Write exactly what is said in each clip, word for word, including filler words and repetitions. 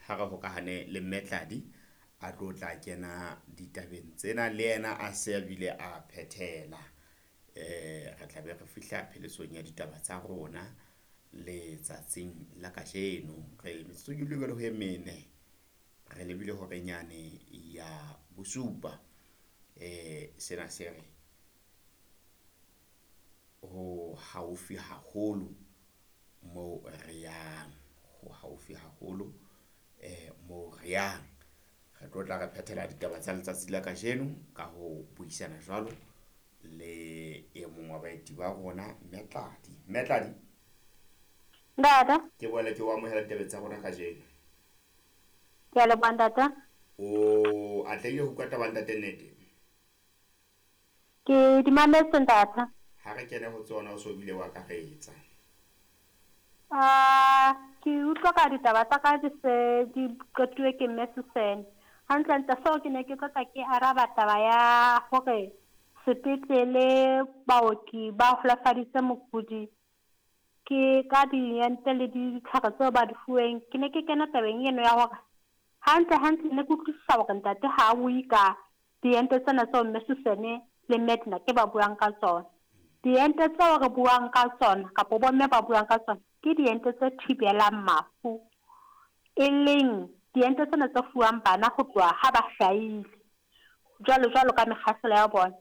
Ha re hokahane le Mme Tladi a tlo tla kena ditabeng tsena le yena a se a bile a phethela. Eh re tla be re fihla pheletsong ya ditaba tsa rona letsatsing la kajeno. Re metsotso ke le ho e mene re lebile horeng yane ya bosupa. Eh sena se re ho haufi haholo moo re yang, ho haufi haholo eh moo re yang. Re tlo tla re phethela ditaba tsa letsatsi la kajeno ka ho buisana jwalo le e mong wa baeti ba rona, Mme Tladi. Mme Tladi, Ntate, ke boele ke o amohela ditabeng tsa rona kajeno. Ke a leboha, ntate. O atlehile ho utlwa taba, ntate, nnete? Ke di mametse, ntate. Ha re kene ho tsona, o so bile wa akaretsa. Ah, ke utlwa ka ditaba tsa ka di se di qetuwe ke Mme Susan. Hantlentle seo ke ne ke tlo tla ke araba taba ya hore sepetlele baoki ba holofaditse mokudi ke ka diente le ditlhare tseo ba di fuweng. Ke ne ke kena tabeng eno ya hore hantle hantle ne ke utlwisisa hore ntate ha a bue ka diente tsena tseo Mme Susan le Mme Edna ke ba buang ka tsona. Diente tseo re buang ka tsona kapa bomme ba buang ka tsona ke diente tse thibelang mafu, e leng diente tsena tse fuwang bana ho tloha ha ba hlahile jwalo jwalo ka mekgahlelo ya bona.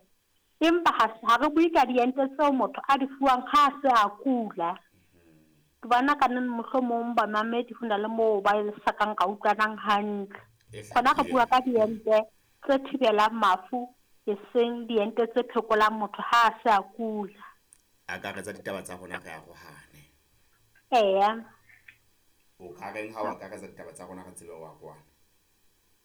Empa ha ha re bue ka diente tseo motho a di fuwang ha a se a kula. Ke bona ka neng mohlomong bamamedi ho na le moo ba sa kang ka utlwanang hantle. Hona re bua ka diente tse thibelang mafu, eseng diente tse phekolang motho ha a se a kula. Akaretsa ditaba tsa rona, re arohane. Eya. O ka reng ha o akaretsa ditaba tsa rona re tsebe ho arohana?